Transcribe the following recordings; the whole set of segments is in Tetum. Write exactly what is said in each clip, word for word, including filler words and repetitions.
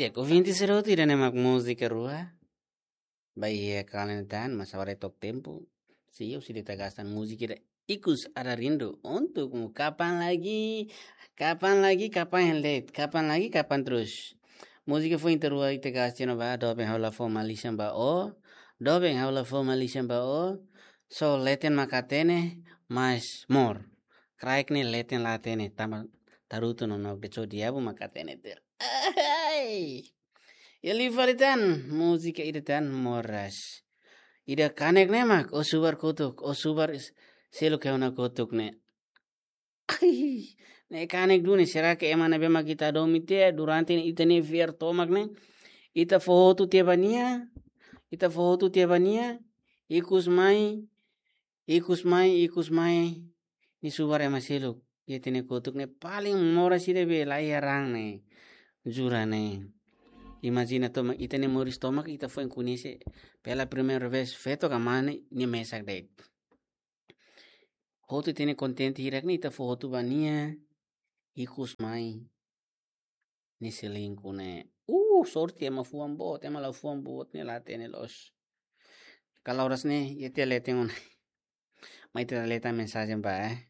Di'ak, ouvinte sira hotu, ida-ne'e mak múzika rua ba iha kalan ida tan, mas agora to'o tempu. Sei, ha'u sei de'it gasta múzika ida, Ikus Ada Rindu Untukmu. Kapan lagi, kapan lagi, kapan hela de'it, kapan lagi, kapan terus. Múzika foin ida rua ita gasta ona ba, doben ha'u la fó malisan ba ó, doben ha'u la fó malisan ba ó, só leten mak hatene, mas amor. Kraik ne'e leten la hatene, tanba tarutu no nok de so diabu mak hatene tuir. Ai. Iha liu fali tan, múzika ida tan, Moras. Ida kanek ne'e mak, ó subar kotuk, ó subar is-, seluk iha ona kotuk ne'e. Ai, ne'e kanek duni, será que ema ne'ebé mak ita hadomi tiha, durante ita-nia fiar tomak ne'e, ita fó hotu tiha ba nia, ita fó hotu tiha ba nia, ikus mai, ikus mai, ikus mai, nia subar ema seluk iha ita-nia kotuk ne'e, paling moras ida be la iha raan ne'e, jura ne'e. Imajina tomak, ita-nia moris tomak, ita foin koñese pela primeira vez, feto ka mane, nia mesak de'it. Hotu ita-nia kontente hirak ne'e, ita fó hotu ba nia, ikus mai, nia selingkuh ne'e. Uh, sorte ema fuan boot, ema la fuan boot ne'e la hatene loos. Kalau oras ne'e, iha tiha leten ona. Mai ita leta mensajen ba, eh.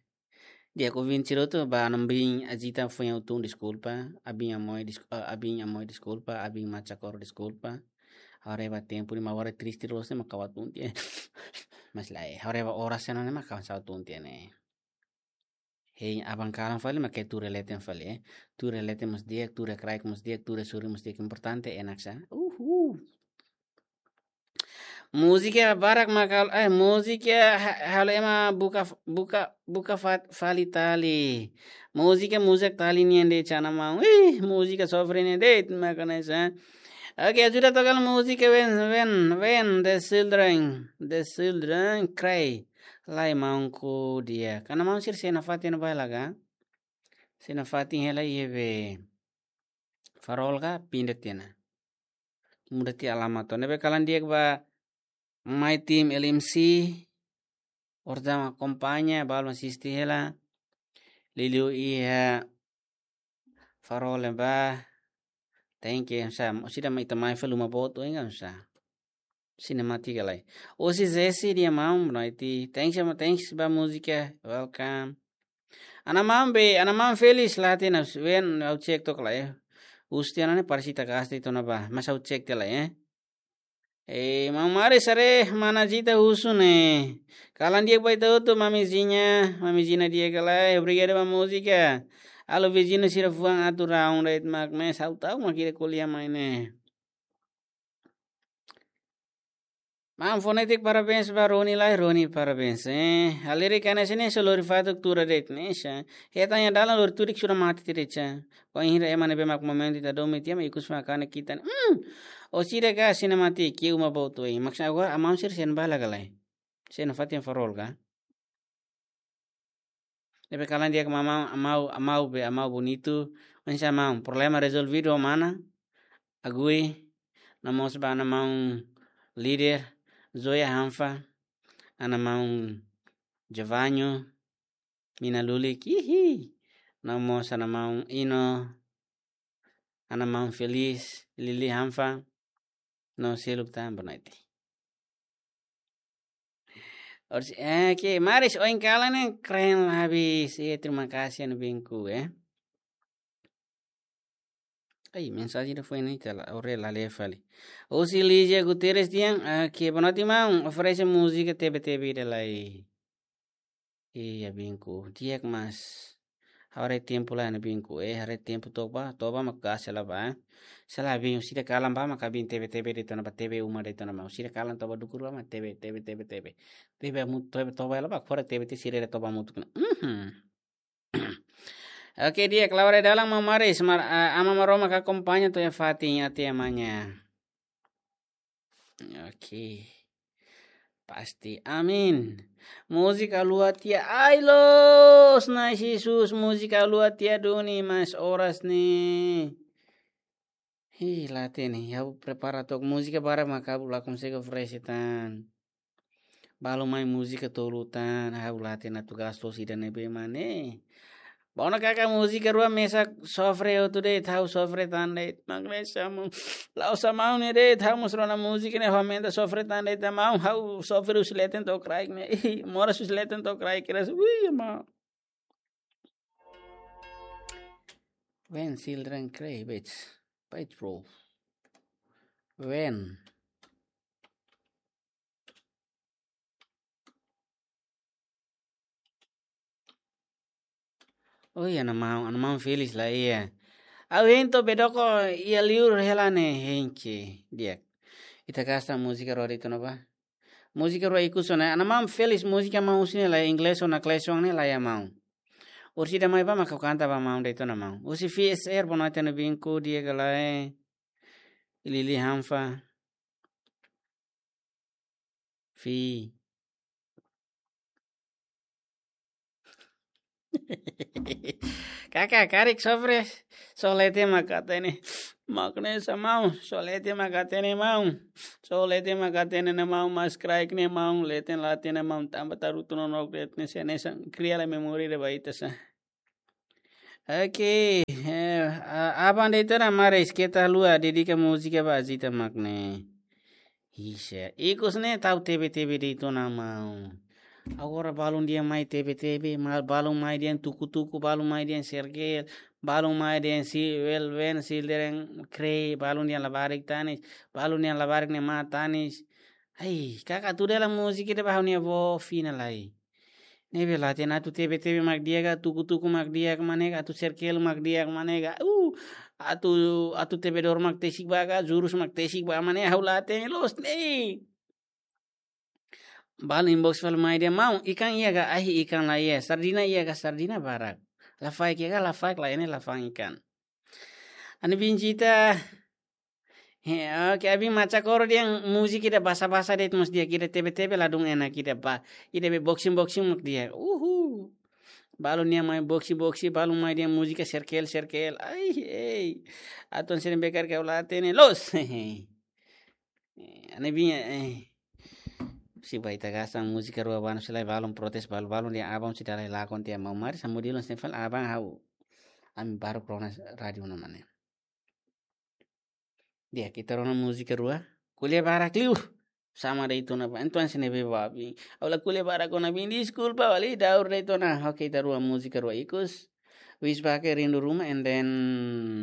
Di'ak, ouvinte sira hotu, ba Ana Bin Ajita foin ha'u tun deskulpa, Abin Amoi des-, eh, Abin Amoi deskulpa, Abin Machakoro deskulpa. Haree ba tempu ne'e mak agora triste loos ne'e mak ha'u tun tiha. Mas lae, haree ba oras ne'e mak ha'u tun tiha ne'e. Hei, aban kalan fali mak tuur iha leten fali, eh. Tuur iha leten mós di'ak, tuur iha kraik mós di'ak, tuur iha sorin mós di'ak, importante enak sá. Uhu. Múzika barak mak hal-, eh, múzika ha-, halo ema buka, buka, buka fa-, fali tali. Múzika, múzika tali nian de'it, Ana Maun. Ih, múzika sofre nian de'it, mak hanesan. Oke, sudah toka múzika, when, when, when the children, the children cry. Lae, maunku di'ak. Ana maun sira sei nafatin ba hela ka? Sei nafatin hela iha be farol ka pinda tiha ona. Muda tiha alamat ona. Ne'ebé kalan di'ak ba mai tim L M C, orsida mak akompaña, balu mak asisti hela. Liuliu iha farol ne'ebá, thank you, sá, orsida mak ita mai fali uma boot oin ka sá. Sinemátika lai. Osi Zesi dia maun, boa noite. Thanks, ama, thanks ba múzika. Welcome. Ana maun be, Ana Maun Felis la hatene, when ha'u cek took lai, eh. Husu tiha ona ne'e parese ita gasta tiha ona ba, mas ha'u cek tiha lai, eh. Eh, Maun Maris haree, mana Zita husu ne'e. Kalan di'ak ba ita hotu, Mami Zinha, Mami Zinha di'ak ka lae, obrigadu ba múzika. Alô, viziñu sira fuan atu raun de'it mak, mas ha'u ta'uk mak ida ko'alia mai ne'e. Maun Fonetik, parabéns ba Roni lai, Roni, parabéns, eh. Halerik hanesan ne'e só lori fatuk tuur de'it ne'e sá. Hetan iha dalan lori tudik sudah mate tiha de'it sá. Bainhira ema ne'ebé mak momentu ita hadomi tiha mak ikus mai kanek ita ne'e. Hmm. Orsida ka sinemátika, uma boot oin. Maksud agora, Ana Maun sira sei ba hela ka lae. Sei nafatin farol ka? Ne'ebé kalan di'ak Ana Maun, Ana Maun, Ana Maun be, Ana Maun Bonitu. Oinsá Ana Maun, problema rezolvidu ho mana? Agui, no mós ba Ana Maun Líder, Zoya Hanfa, Ana Maun Javaño, Mina Lulik, hihi. No mós Ana Maun Ino, Ana Maun Felis, Lili Hanfa, no seluk tan, boa noite. Orsida, eh, ke, Maris, oin kalan ne'e keren la habis. Eh, terima kasih, Ana Binku, eh. Ai, mensajen ida foin ne'e ita la, ore la lee fali. Osi Lígia Guterres dehan, ah, ke, boa noite, maun, oferese múzika Tebe Tebe ida lai. Iya, Binku. Di'ak, mas haree tempu lai, Ana Binku. Eh, haree tempu to'o ba, to'o ba mak gasta hela ba. Sala Binku, orsida kalan ba mak Abin Tebe Tebe de'it ona ba, Tebe uma de'it ona ba. Orsida kalan to'o ba dukur ba mak Tebe, Tebe, Tebe, Tebe. Tebe mu-, Tebe to'o ba hela ba, fora Tebe tiha sira to'o ba hamutuk ona. Mhm. Oke, di'ak, Laura Dalang, Maun Maris, mar-, ah, Aman Maromak akompaña to'o iha fatin, até amanhã. Oke. Pasti. Amin. Múzika lua tiha. Ai, loos, Na'i Jesus, múzika lua tiha duni, mas oras ne'e. Ih, la hatene, ha'u prepara took múzika barak mak ha'u la konsege oferese tan. Balu mai múzika tolu tan, ha'u la hatene atu gasta loos ida ne'ebé mak ne'e. Bauna kaka múzika rua mesak sofre hotu de'it, ha'u sofre tan de'it. Mak ne'e sama. La'ós maun ne'e de'it, ha'u mós rona múzika ne'e aumenta sofre tan de'it, maun ha'u sofre husi leten to'o kraik ne'e. Ih, moras husi leten to'o kraik kedas. Ui, maun. When children cry, wait, wait, bro. When Oh iya, ana maun, ana maun Felix la iha. Ha'u hein to'o Bedoko iha liur hela ne'e hein ke di'ak. Ita gasta múzika rua de'it ona ba. Múzika rua ikus ona. Ana maun Felix múzika maun husi ne'e la inglés ona klesion ne'e la iha maun. Orsida mai ba mak ha'u kanta ba maun de'it ona maun. Husi F S R bonoite no binku di'ak ka lae. Lili Hanfa. Fi. Kaka, karik sofre, só leten mak hatene. Mak ne'e sa maun, só leten mak hatene maun. Só leten mak hatene ne'e maun, mas kraik ne'e maun, leten la hatene maun, tanba tarutu no nok det ne'e se ne'e sa, kria la memória de baita sa. Oke, eh, a-, aban de'it ona mares keta lua dedika múzika ba Azita mak ne'e. Isa, ikus ne'e tau tebe-tebe de'it ona maun. Agora balun dehan mai tebe-tebe, ma-, balun mai dehan tuku-tuku, balun mai dehan sergel, balun mai dehan si welwen, si dereng krei, balun dehan labarik tanis, balun dehan labarik ne'e mak tanis. Ai, kaka atu dela múzika ida ba ha'u-nia avó fina lai. Ne'ebé la hatene atu tebe-tebe mak di'ak ka, tuku-tuku mak di'ak ka, mane ka, atu serkel mak di'ak ka, mane ka. Uh, atu, atu tebedór mak tesik ba ka, jurus mak tesik ba, mane ha'u la hatene loos ne'e. Balu inbox fali mai dehan maun, ikan iha ka, ai ikan la iha, sardina iha ka, sardina barak. Lafaek iha ka, lafaek la iha ne'e, lafang ikan. Ani bin Zita. He, oke, abin maca koro dehan múzika ida basa-basa de'it mós di'ak, ida tebe-tebe ladún enak, ida ba, ida be boxing-boxing mak di'ak. Uhu. Balun dehan mai boxing-boxing, balun mai dehan múzika serkel-serkel. Ai, ei. Atu hanesan ne'ebé karik ha'u la hatene loos. Eh, ani bin, eh. Se ba ita gasta múzika rua ba no se la balun protes balu-balun dehan aban se dala lakon tiha maun mares, samudilon senfal aban ha'u. Ami baru kronas rádiu no mane. Di'ak, ita rona múzika rua. Ko'alia barak liu. Sama de'it ona ba. Entaun hanesan ne'ebé ba abin. Ha'u la ko'alia barak ona abin. Deskulpa, bali daur de'it ona. Oke, ita rua múzika rua ikus. Wis bake rindu ruma and then